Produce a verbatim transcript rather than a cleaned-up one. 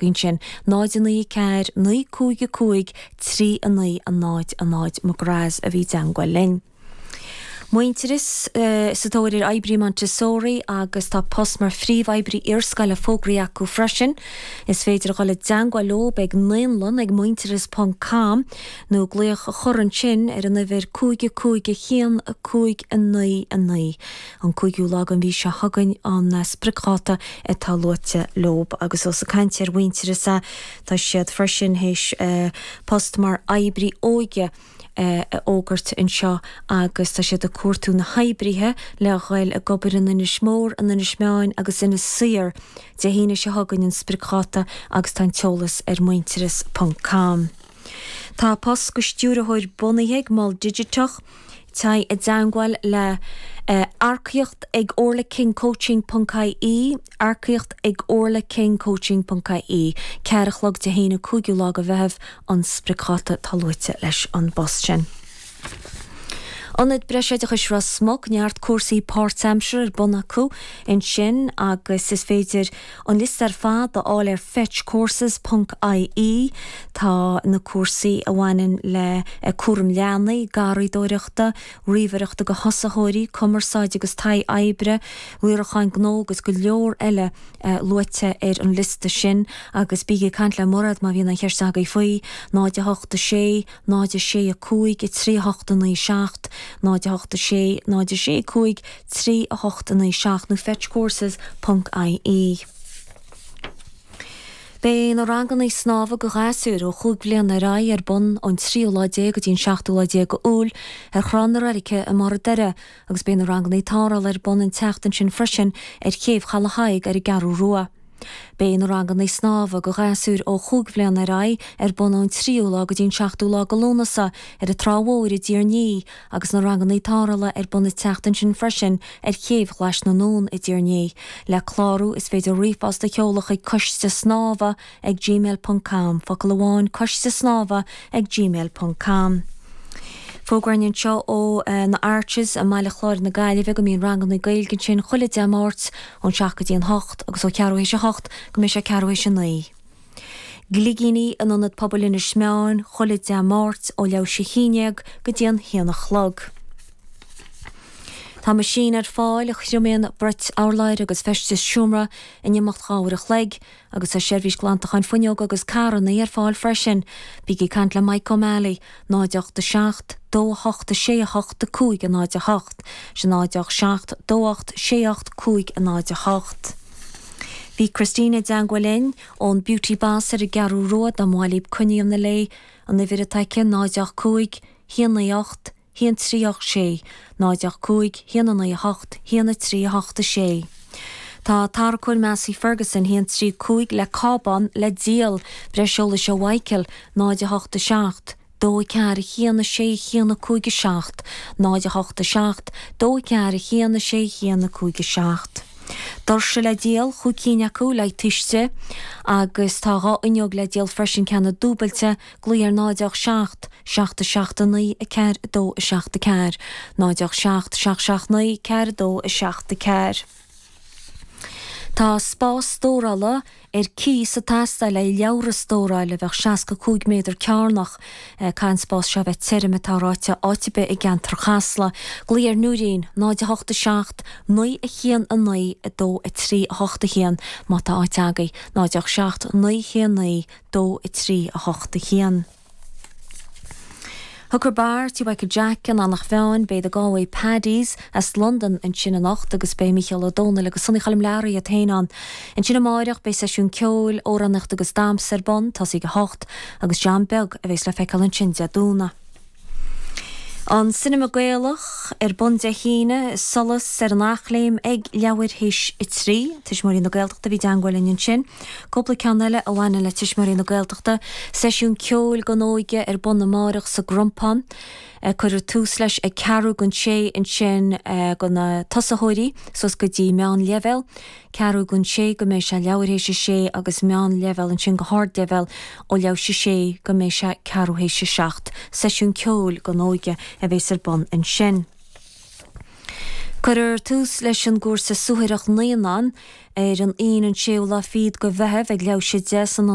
Ansin náid a naoi ceathair naoi cúig a cúig trí a naoi a náid a náid McGrath's a bhí i dteangmháil linn. Muintearas sa tóir ar oibrí Montessori agus tá post mar phríomhoibrí iarscoile fógraithe acu freisin. Is féidir a dhul i dteangmháil leo ag naíolann ag muintearas ponc com nó glaoch a chur ansin ar an uimhir cúig a cúig a haon a cúig a naoi a naoi. An cúigiú lá den mhí seo chugainn an spriocdháta atá luaite leo agus ós ag caint ar Mhuintearas tá siad freisin théis post mar oibrí óige a fhógairt anseo agus tá siad ag cuartú na hoibrithe le dhul ag obair in Inis Mór, in Inis Meáin agus Inis Oírr. Dé hAoine seo chugainn an spriocdháta agus tá an t-eolas ar muintearas ponc com. Tá post go stiúrthóir bunaithe ag Mol Digiteach, Téigh i dteangmháil le earcaíocht ag orlakingcoaching ponc ie, earcaíocht ag orlakingcoaching ponc ie, ceathair a chlog Dé hAoine cúigiú lá de Mheitheamh an spriocdháta atá luaite leis an bpost sin. Ionad Breisoideachais Ros Muc, neart cúrsaí páirtaimseartha ar bun acu ansin agus is féidir an liosta ar fad a fháil ar fetchcourses ponc ie. Tá na cúrsaí a bhaineann le cúram leanaí, garraíodóireachta, ríomhaireachta do thosaitheoirí, cumarsáid agus taithí oibre, riaracháin gnó agus go leor eile luaite ar an liosta sin agus bígí ag caint le Mairéad má bhíonn aon cheist agaibh faoi, náid a hocht a sé, náid a sé a cúig, a trí a hocht a naoi seacht, náid a hocht a sé, náid a sé a cúig, trí a hocht a naoi seacht nó fetchcourses ponc ie. Beidh na ranganna snámha do ghasúir ó chúig bhliana ar aghaidh ar bun ón tríú lá déag go dtí an seachtú lá déag Iúil ar Thrá na Reilige i mBarr an Doire agus beidh na ranganna tarrthála ar bun an tseachtain sin freisin ar chéibh Chaladh Thaidhg ar an gCeathrú Rua. Beidh na ranganna snámha do ghasúir ó chúig bhliana ar aghaidh ar bun ón tríú lá go dtí an seachtú lá de Lúnasa ar an Trá Mhór i dTír an Fhia agus na ranganna tarrthála ar bun an tseachtain sin freisin ar Chéibh Ghlais na nDún i dTír an Fhia. Le clárú is féidir ríomhphost a sheoladh chuig coiste snámha ag gmail ponc com, focal amháin coiste snámha ag gmail ponc com. Fógra anseo ó na Arches i mBaile Chláir na Gaillimhe go mbíonn ranganna Gaeilge ansin chuile Dé Máirt ón seacht go dtí an hocht agus ó cheathrú théis a hocht go mbeidh sé ceathrú théis a naoi. Gligíní in Ionad Pobail Inis Meáin chuile Dé Máirt ó leathuair théis a haon déag go dtí an haon a chlog. Tá meaisín ar fáil a thriomaíonn bruit urláir agus feistis seomra in imeacht dhá uair a chloig agus tá seirbhís glantacháin fuinneoga agus carranna ar fáil freisin. Bígí ag caint le Mike O'Malley, náid ocht a seacht, dó a hocht a sé a hocht a cúig a náid a hocht, sin náid ocht seacht, dó ocht sé ocht cúig a náid a hocht. Bhí Christina i dteangmháil linn ón Beauty Boss ar an gCeathrú Rua dá mba mhaith libh coinne a dhéanamh léi, an uimhir atá aici, náid ocht cúig, haon naoi ocht, haon trí ocht sé, náid ocht cúig, haon a naoi a hocht, haon a trí a hocht a sé. Tá tarracóir Massey Ferguson haon trí cúig le cábán le díol, breis eolais ó Mhichael, náid a hocht a seacht, dó a ceathair a haon a sé haon a cúig a seacht, náid a hocht a seacht, dó a ceathair a haon a sé haon a cúig a seacht. Doirse le díol, chúig cinn acu le tuiste, agus tá dhá fhuinneog le díol freisin, ceanna dúbailte, glaoigh ar náid ocht seacht, seacht a seacht a naoi, a ceathair a dó a seacht a ceathair, náid ocht seacht, seacht seacht naoi, ceathair a dó a seacht a ceathair. Tá spás stórála ar cíos ag teastáil le leabhra a stóráil a bheadh seasca cúig méadar cearnach. Caithfidh an spás seo bheith tirim atá ráite áit ar bith i gceantar Chasla. Glaoigh ar Nóirín, náid a hocht a seacht, naoi a haon a naoi, a dó a trí a hocht a haon má tá áit agaibh, náid ocht seacht, naoi haon naoi, dó a trí a hocht a haon. Hooker Bar, Tí Mhichael Jack in Eanach Mheáin, beidh The Galway Paddies as Londain ansin anocht agus beidh Mícheál Ó Domhnaill agus Sonny Choilm Learaí iad féin ann. Ansin amáireach beidh seisiún ceoil, amhránaíocht agus damhsa ar bun, tosaí ag a hocht, agus John Beag a bheas le feiceáil ansin Dé Domhnaigh. An Cinema Gaelach ar bun Dé hAoine, Solas ar an Eachléim ag leathuair théis a trí. Tuismitheoirí na Gaeltachta a bhí i dteangmháil linn ansin. Cúpla ceann eile a bhaineann le Tuismitheoirí na Gaeltachta. Seisiún ceoil don óige ar bun amáireach sa gCrompán. Cuireadh tús leis ag ceathrú don sé ansin do na tosaitheoirí suas go dtí meánleibhéal. Ceathrú don sé go mbeidh sé leathuair théis a sé agus meánleibhéal ansin go hardleibhéal ó leathuair théis a sé go mbeidh sé ceathrú théis a seacht. Seisiún ceoil don óige a bheas ar bun ansin. Cuirfear tús leis an gcúrsa suathaireacht naíonán ar an Aoine an séú lá fichead de Mheitheamh ag leathuair tar éis a deich san